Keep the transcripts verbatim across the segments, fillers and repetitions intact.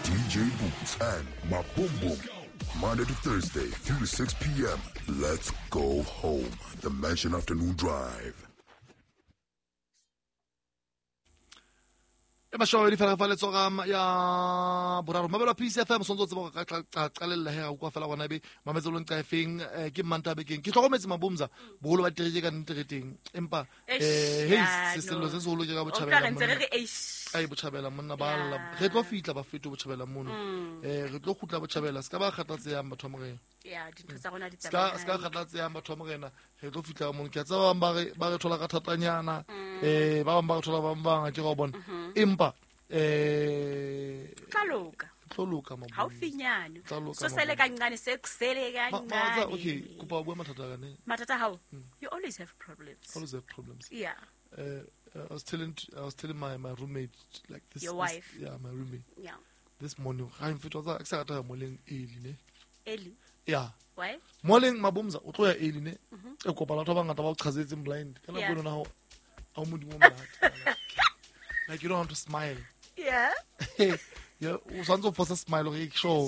D J Boots and Maboom. Monday to Thursday, three to six p.m. Let's go home. The Mansion Afternoon Drive. E mashome di fela fa letsoga ya boraro mabelo P C F M sontso tsebo ka qalella he ga kwa fela gona be mametselong ka efeng ke mmanta bekeng ke hlokometse mabomza boholo ba tereke ka ntereteng empa eh hey se sello se seholo ke ka botjhabela ai botjhabela monna ba lla re tlo fitla ba feto botjhabela mono eh re tlo khutla botjhabela se ka ba kgatlatseyang batho ba morena ya dintho tsa rona di tsamaya se ka kgatlatseyang batho ba morena re tlo fitla mono ke a tseba ba re ba re thola ka thatanyana eh ba bang ba re thola ba bang ke go bona empa eh tloka tloka mabomza haufinyane so sele kancane sekusele kancane okay kupa bua mathata ka ne mathata how you always have problems always have problems yeah uh, I was telling I was telling my my roommate like this your wife this, yeah my roommate yeah this morning ga mfetwa tsa ke sa rata moleng early ne early yeah why moleng mabomza o tlo ya early ne e kopana batho ba bangata ba o chazetseng blind kana go lona ho a modimo monate like you don't want to smile yeah yeah o santse o force smile gore ke sure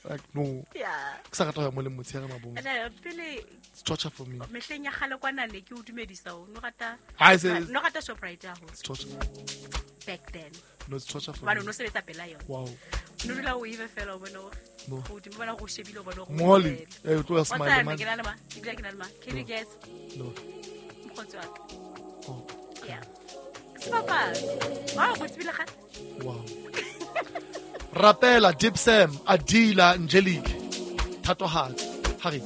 like no yeah ke sa rata ya moleng motshehare mabomza ene pele it's torture for me mehleng ya kgale kwana ne ke o dumedisa o no rata no rata Shoprite ya ho it's torture back then no it's torture for me me no sebetsa pela yona wow no dula o ibe fela o bona o go bona go shebile o bona go Molly eh o tlo smile man ke na le ma ke dula ke na le ma can you guess no mokgotsi wa ka oh yeah Papa wow go tsebile ga wow Rapela Dipsam Adila Angelique Thatohatsi Harry.